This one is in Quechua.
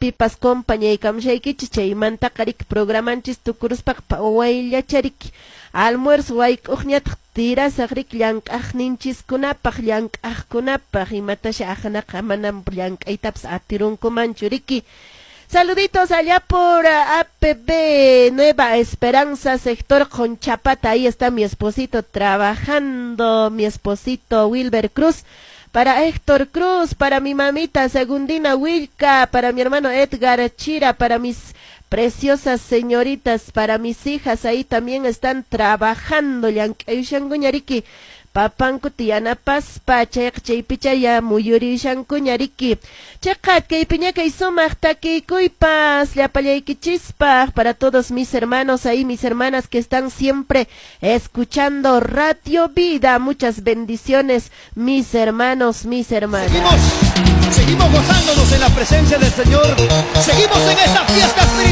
Pipas compañaykamushaykichis. Chaymantaqa riki programanchis tukuruspaqa wayllacha riki almuerzo wayk'uqñataq tirasaq riki llank'aqninchiskunapaq, llank'aqkunapaq, imatasha aqnaqa manam llank'aytapas atirunkumanchu riki. Saluditos allá por APB Nueva Esperanza, sector Conchapata. Ahí está mi esposito trabajando, mi esposito Wilber Cruz. Para Héctor Cruz, para mi mamita Segundina Wilca, para mi hermano Edgar Chira, para mis preciosas señoritas, para mis hijas, ahí también están trabajando. Llank'ayushankuña riki papankuta yanapaspa, chayqa chaypichaya muyurishankuña riki. Chayqa kaypiña kay sumaq takiykuypas llapallaykichispaq, para todos mis hermanos ahí, mis hermanas que están siempre escuchando Radio Vida. Muchas bendiciones, mis hermanos, mis hermanas. Seguimos, seguimos gozándonos en la presencia del Señor. Seguimos en esta fiesta espiritual.